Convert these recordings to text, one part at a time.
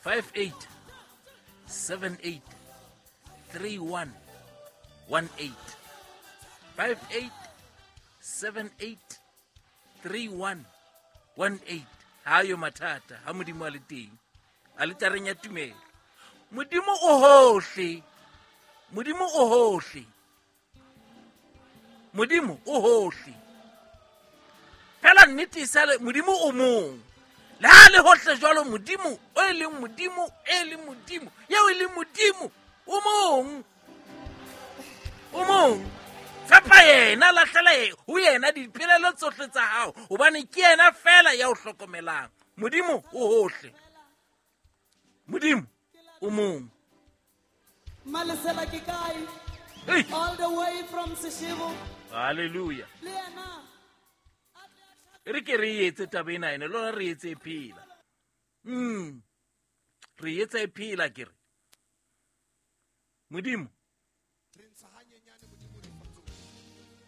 58 78 31 18. 58 78 31 18. Ha yo mathata ha Modimo a le teng aletareng ya tumelo. Modimo o hohle, Modimo o hohle, Modimo o hohle. Fela nnete e sale Modimo o mong. Le ha le hohle jwalo, Modimo o e leng Modimo, e leng Modimo, eo e leng Modimo o mong, o mong. Tshepa yena, lahlela ho yena dipelaelo tsohle tsa hao, hobane ke yena fela ya o hlokomelang. Modimo o hohle, Modimo o mong. Malesela ke kae? Hey. All the way from Seshego. Hallelujah. Le yena. E re ke re etse taba ena ene, lona re etse e phela. Re etsa e phela ke re. Modimo.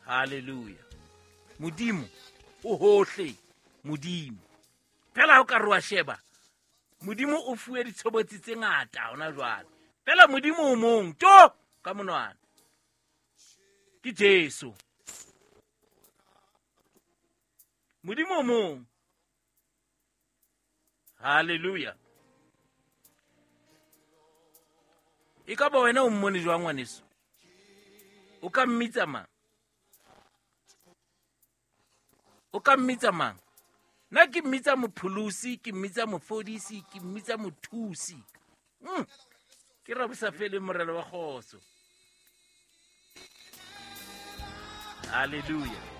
Hallelujah. Modimo o hohle, Modimo. Fela ha o ka re wa sheba, Modimo o fuwe ditshobotsi tse ngata hona jwale. Fela Modimo o mong, to ka monwana. Ke Jesu. Modimo o mong. Hallelujah. E ka ba wena o mmone jwang ngwaneso? O ka mmitsa mang? O ka mmitsa mang? Nna ke mmitsa mopholosi, ke mmitsa mofodisi, ke mmitsa mothusi. Ke Rabosafele morena wa kgotso. Hallelujah.